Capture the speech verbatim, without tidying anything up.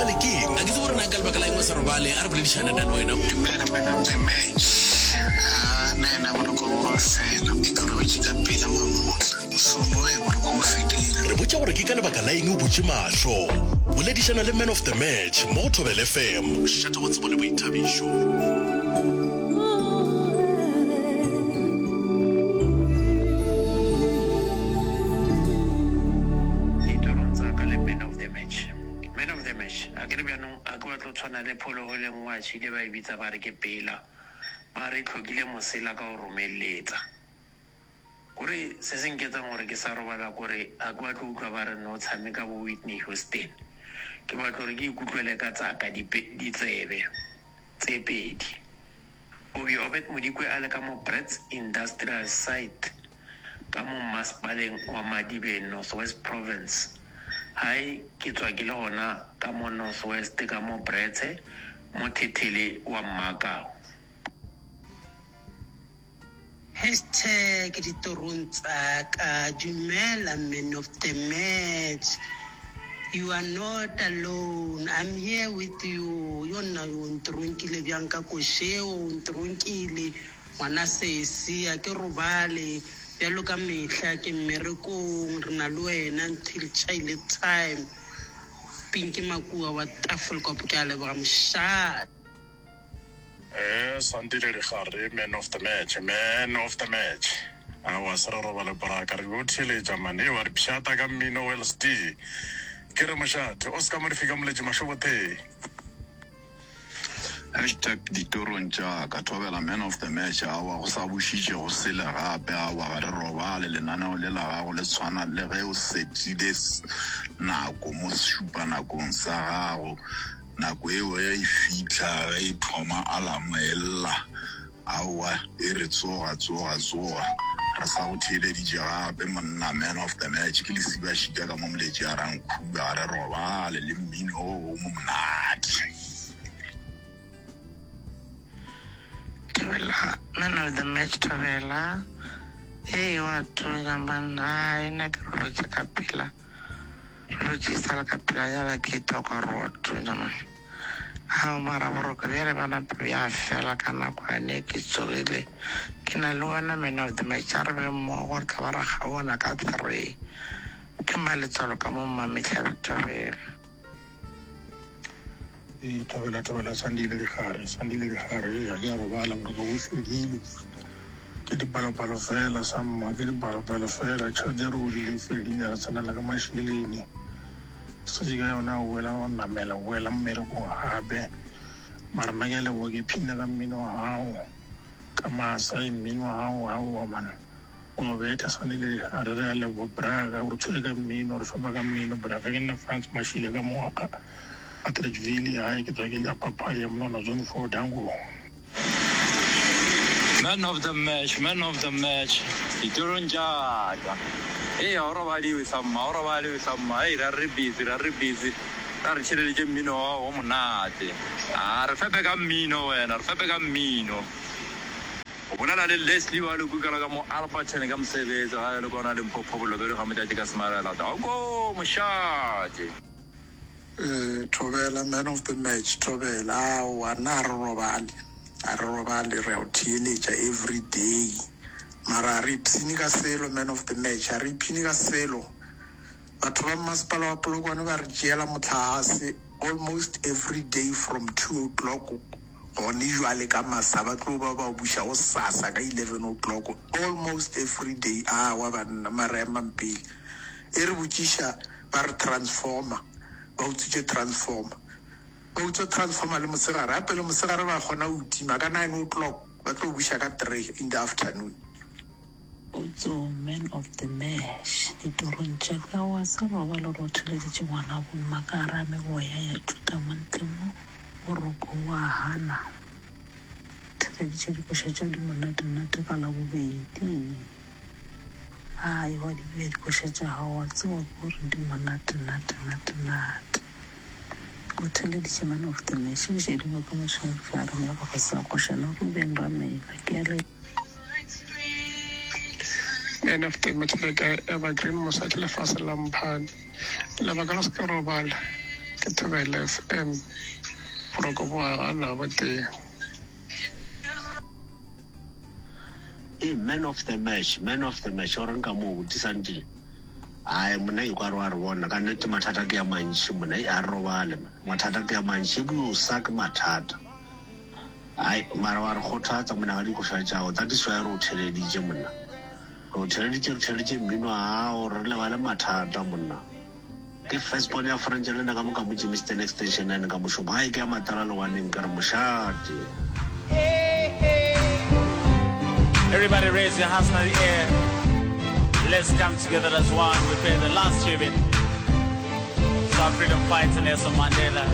robale ke eng? A ke tsebe gore na ka lebaka la eng o sa robale, a re boledišane nna le wena. Dumela man of the match. Ah, nna yena boroko bo wa fela. Ke robetše ka pela mamotla. Mosomo ge boroko bo fedile. Re botša gore ke ka lebaka la eng o butše mahlo. Boledišana le man of the match mo go Thobela F M. Mošate wa tsebo le boithabišo. Ditorong tsa ka le man of the match. Man of the match. A ke re bjanong a ke batlo tshwana le phologolo e nngwe a tšhile ba e bitsa ba re ke pela. Ba re e tlhokile mosela ka go romeletsa. Kore se se nketsang gore ke sa robala kore a ke batlo utlwa ba re no tshameka bo Whitney Houston. Ke batlo gore ke ikutlwele ka tsaka ditsebe tse pedi. Obi Obed Modikwe a le ka mo Brits Industrial Site ka mo mmasepaleng wa Madibeng, North West Province. Hai ke tswa ke le gona ka mo North West ka mo Brits mo Thethele wa Mmakau. Hashtag ditorong tsa ka. Dumela man of the match. You are not alone. I'm here with you. Yo nna o ntronkile bjang ka košeo, o ntronkile ngwana sesi, a ke robale bjalo ka mehla ke mmerekong, re na le wena until chaile time. Pinky Makua wa Tafelkop, ke a leboga mošate. Eh, Sandile Digare, man of the match, man of the match. Aowa, se re robale boraka, re yo theeletša man. Ee, wa re pšhata ka mmino o L D. Ke re mošate, o se ka mo re fika moletši mašobothe. Hashtag ditorong tša ka, thobela man of the match. Aowa, go sa bušitše go sele gape. Aowa, ga re robale. Lenaneo le la gago le tshwana le ge o setile nako mo sešupanakong sa gago. Nako eo ge e fihla, ge e thoma alarm e lla, aowa, e re tsoga, tsoga, tsoga. Re sa go theeleditše gape monna, man of the match, ke lesibašika ka mo moletši a Rankhuba, ga re robale le mmino o o mo monate. Thobela, man of the match, Thobela. Ee, wa thunya banna, hai nna ke robetše ka pela. Robetše e sa le ka pela ya ke toka gore wa thunya man. Ao mara boroko bjale ba nape bja fela ka nako yane ke tsogile. Ke na le wena man of the match, a re be mmogo re tla ba ra kgaona ka three. Ke maletswalo ka mo Mmametlhabe Thobela. Ee, Thobela, Thobela, Sandile Digare, Sandile Digare, ee, ga ke a robala, boroko bo fedile. Ke dipalopalo fela, samma, ke dipalopalo fela. Tšhelete ya re godile e fedile, re tsenela ka mašeleng. Setse ka yona o boela go namela, o boela mmerekong gape. Mara nna ke a leboga, ke phina ka mmino wa gago, ka masa, mmino wa gago, aowa man. O betha Sandile Digare, re a leboga braka, o re tshwere ka mmino, re fepa ka mmino braka. Ke nna Frans Mashile ka mo Atteridgeville, hae ke tswa ke le Papaya Mnona Zone four, Danko. Man of the match, man of the match, ditorong tša ka. Ee, ga o robaliwe samma, ga o robaliwe samma. Hei, ra re busy, ra re busy. Ra re tšhireletše mmino wa gago o monate. A re fepe ka mmino wena, re fepe ka mmino. O bolela le Leslie wa Lekukela ka mo Alberton ka mosebetsi gae le kona Limpopo Bolobedu ga Motšatši ka Semarela. Danko mošate. Eh, Thobela, man of the match, Thobela, aowa, nna ga re robale, ga re robale, re a o theeletša every day. Mara ga re ipshine ka selo, man of the match, ga re ipshine ka selo. Batho ba mmasepala wa Polokwane ba re tšeela mohlagase almost every day from two o'clock gone jwale ka masa, ba tlo ba ba buša gosasa ka eleven o'clock almost every day. Aowa banna, mara emang pele. E re botšiša ba re transformer, ba utswitše transformer. Ba utswa transformer le mosegare, gape le mosegare ba kgona go tima ka nine o'clock, ba tlo buša ka three in the afternoon. Potso, man of the match, ditorong tša ka wa se robale gore o theleditše ngwana bomma ka gare ga meboya ya tšuta mo ntle mo boroko wa hana. Theleditše dikoša tša di monate-nate ka Labobedi. Ai, wa di bea dikoša tša gago, wa tseba gore di monate-nate-nate-nate. O theleditše man of the match, o šedingwe ke mošwefare morago sa košana Ruben Ramela. Ke a le Man of the match le ka Evergreen Mosadi lefase la mphane. Lebaka la se ke robala Ke Thobela F M, boroko bo a gana gotee. Ee, man of the match, man of the match, o reng ka moo, Buti Sandile? Ae, monna e kware wa re bona, ka nnete mathata ke a mantši monna, ei, a re robale man, mathata ke a mantši, ebile o sa ke mathata. Ai, mara wa re kgothatsa monna ka dikoša tšago, that is why re o theleditše monna. Re o theleditše, re theleditše mmino wa gago, re lebale mathata monna. Ke first born ya French le nna ka mo ka mo Germiston Extension nine ka mošomo, gae ke ya Matala Lewaneng, ke re mošate. Everybody raise your hands in the air. Let's come together as one. We pay the last tribute to our freedom fighter Nelson Mandela.